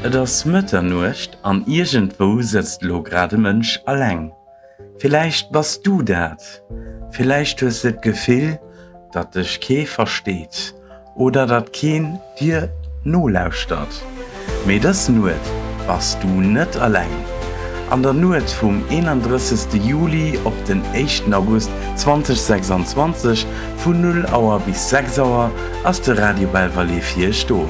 Et ass Mëtternuecht an iergendwou sëtzt elo grad e Mënsch alleng. Villäicht bass du dat. Villäicht hues de d'Gefill, datt dech kee versteet oder datt keen dir nolauschtert. Mee dës Nuet bass du net alleng. An der Nuet vum 31. Juli op den éischten August 2026 vun 0 Auer bis 6 Auer ass de Radio Belval fir iech do.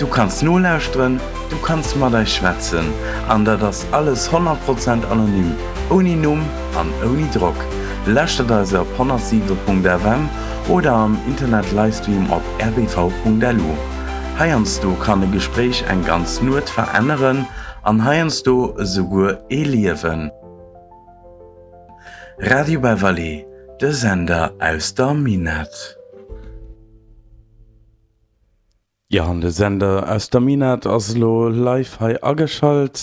Du kanns nolauschteren, du kanns mat eis schwätzen an dat ass alles 100 Prozent anonym, ouni Numm an ouni Drock. Lauschtert eis op 107.fm oder am Internet Livestream op rbv.lu. Heiansdo kann e Gespréich eng ganz Nuet veränneren an heiansdo esouguer ee Liewen. Radio Belval, de Sender aus der Minett. Jo, an de Sender aus der Minett ass elo live hei ageschalt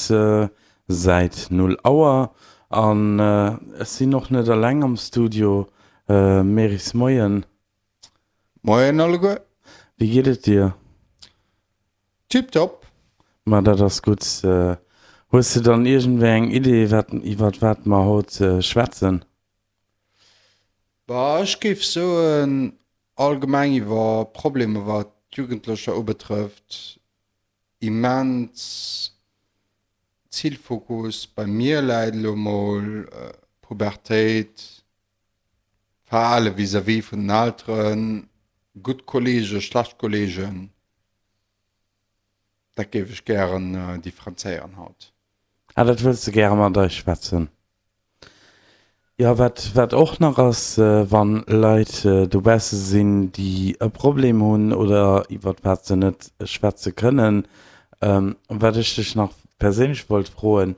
säit 0 Auer. An ech sinn och net eleng am Studio. Meris, Moien. Moien alleguer. Wéi geet et dir? Tiptop. Ma dat ass gutt. Hues de dann iergendwéi eng Idee, wat, iwwert wat mer haut schwätzen? Bah, ech géif soen, allgemeng iwwer Problemer wat d'Jugendlecher ubetrëfft, immens Zilfokus bei mir läit elo mol Pubertéit, Verhale vis-à-vis vun den Elteren, gutt Kollegen, schlecht Kollegen. Dat géif ech gären differenzéieren haut. Ah, dat wëlls de gäre mat eis schwätzen? Jo, wat, wat och nach ass, wann Leit dobausse sinn, déi e Problem hunn oder iwwert wat se net schwätze kënnen, wat ech dech nach perséinlech wollt froen,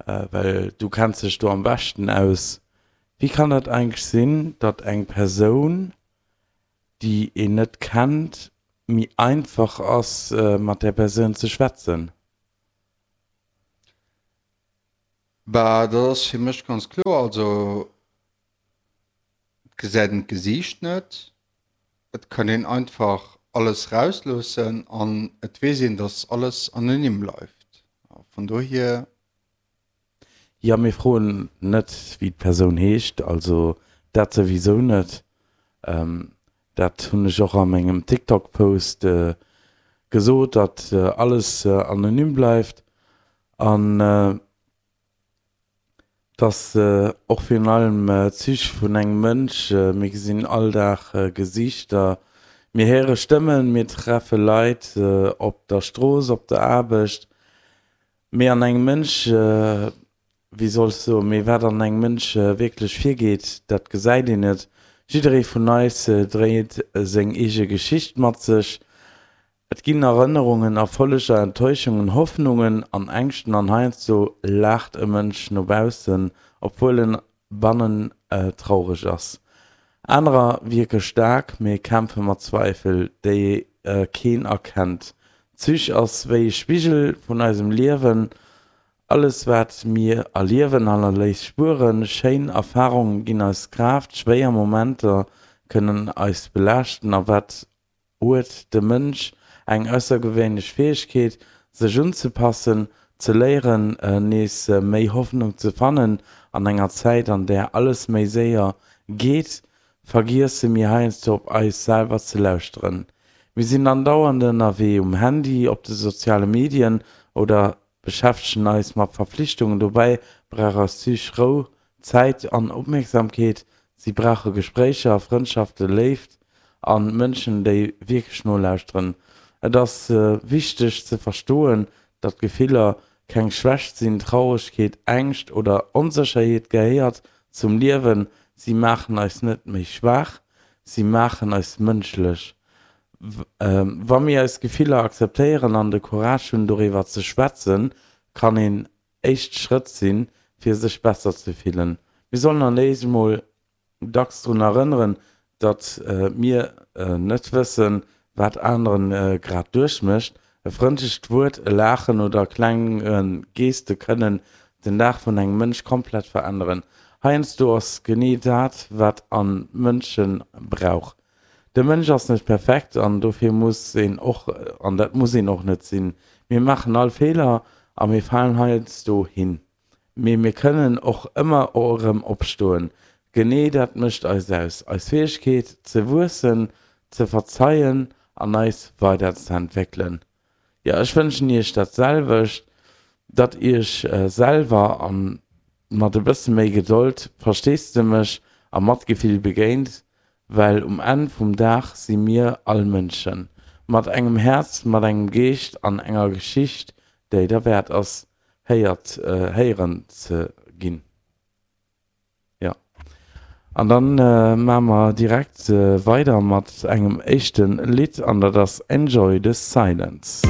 well du kenns dech do am beschten aus, Wéi kann dat eigentlech sinn, datt eng Persoun, déi een net kennt, méi einfach ass, mat där Persoun ze schwätzen? Bah, dat ass fir mech ganz kloer. Also et gesäit een d'Gesiicht net, et kann een einfach alles rausloossen an et weess een, dass alles anonym bleift. A vun dohier. Jo, mir froen net, wéi d'Persoun heescht, also dat souwisou net. Dat hunn ech och a mengem TikTok-Post gesot, datt alles anonym bleift. An dass och virun allem Zich vun engem Mënsch, mir gesinn all Dag Gesiichter, mir héiere Stëmmen, mir treffe Leit op der Strooss, op der Aarbecht, mee an engem Mënsch, wéi soll ech soen, mee wat an engem Mënsch wierklech virgeet, dat gesäit een net. Jidderee vun eis dréit seng eege Geschicht mat sech. Et ginn Erënnerungen, Erfolleger, Enttäuschungen, Hoffnungen an Ängschten an heiansdo laacht e Mënsch no baussen, obwuel en bannen traureg ass. Anerer wierke staark, mee kämpfe mat Zweifel, déi keen erkennt. D'Psych ass wéi e Spigel vun eisem Liewen. Alles wat mir erliewen hannerléisst Spueren. Schéin Erfarunge ginn eis Kraaft, schwéier Momenter kënnen eis belaaschten a wat huet de Mënsch eng aussergewéinlech Fäegkeet, sech unzepassen, ze léieren, nees méi Hoffnung ze fannen. An enger Zäit, an där alles méi séier geet, vergiesse mir heiansdo op eis selwer ze lauschteren. Mir sinn andauernd ënnerwee, um Handy, op de soziale Medien oder beschäftegen eis mat Verflichtungen. Dobäi brauch eis Psych Rou, Zäit an Opmierksamkeet. Si brauche Gespréicher, Frëndschaften, Léift a Mënschen, déi wierklech nolauschteren. Et ass wichteg ze verstoen, datt Gefiller keng Schwächt sinn. Trauregkeet, Ängscht oder Onsécherheet gehéiert zum Liewen. Si maachen eis net méi schwaach, si maachen eis mënschlech. Wa mir eis Gefiller akzeptéieren an de Courage hunn, doriwwer ze schwätzen, kann een éischt Schrëtt sinn, fir sech besser ze fillen. Mir sollen an éis emol dacks drun erënneren, datt mir net wëssen, wat aneren grad duerchmécht. E frëndlecht Wuert, e Laachen oder kleng Geste kënnen den Dag vun engem Mënsch komplett veränneren. Heiansdo ass genee dat, wat an Mënsche brauch. De Mënsch ass net perfekt an dofir muss een och, an dat muss een och net sinn. Mir maachen all Feeler a mir falen heiansdo hin. Mee mir kënnen och ëmmer erëm opstoen. Genee dat mécht eis aus, eis Fäegkeet ze wuessen, ze verzeien an eis weiderzeentwéckelen. Jo, ech wënschen iech dat selwecht, datt iech selwer an mat e bësse méi Gedold, Versteesdemech a Matgefill begéint, well um Enn vum Dag si mir all Mënschen, mat engem Häerz, mat engem Geescht an enger Geschicht, déi derwäert ass, héiert, héieren ze ginn. Jo, an dann maache mer direkt weider mat engem éischte Lidd an dat ass Enjoy the Silence.